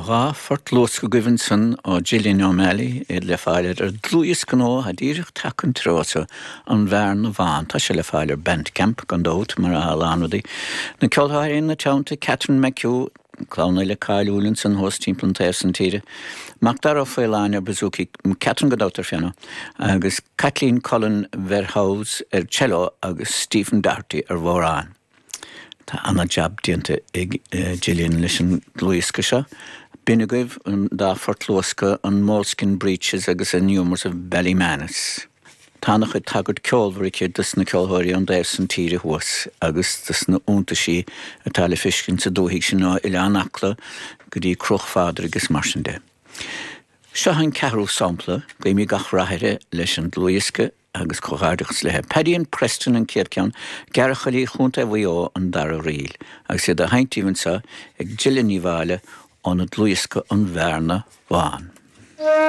Dá phort luasctha agaibh ansan ó Gillian O'Malley, iad le fáil ar a dlúthdhiosca nua atá díreach tagtha an treo so, An Bhearna Bhán. Tá sé le fáil ar Bandcamp, gan dabht, mar atá a lán rudaí. Na ceoltóirí ina teannta, Catherine McHugh, clann fhile cáiliúil ansan thuas timpeall an taobh san tíre, Macdara Ó Faoláin ar bouzouki, Catherine gan dabht ar phianó, agus Caitlín Cullen Verhoeves ar cello agus Stephen Doherty ar bhodhrán. Tá ana-jab déanta ag Gillian leis an dlúthdhiosca seo. B'in agaibh an dá phort luasctha, an Moleskin Breeches agus an Humours of Ballymanus. Tá ana-chuid tagairt ceolmhar aici dos na ceolthóirí ón dtaobh san tíre thuas agus dos na iontaisí atá le feiscint sa dúthaigh sin ó Oileán Acla go dtí Cruach Phádraig is mar sin de. Seo an ceathrú sampla, guímid gach rath uirthi leis an dlúthdhiosca agus comhghairdeachas léi. Paddy and Preston an chéad cheann, Gearrchailí Chontae Mhaigh Eo an dara ríl, agus iad á sheinnt daoibh anseo ag Gillian Ní Mháille óna dlúthdhiosca An Bhearna Bhán.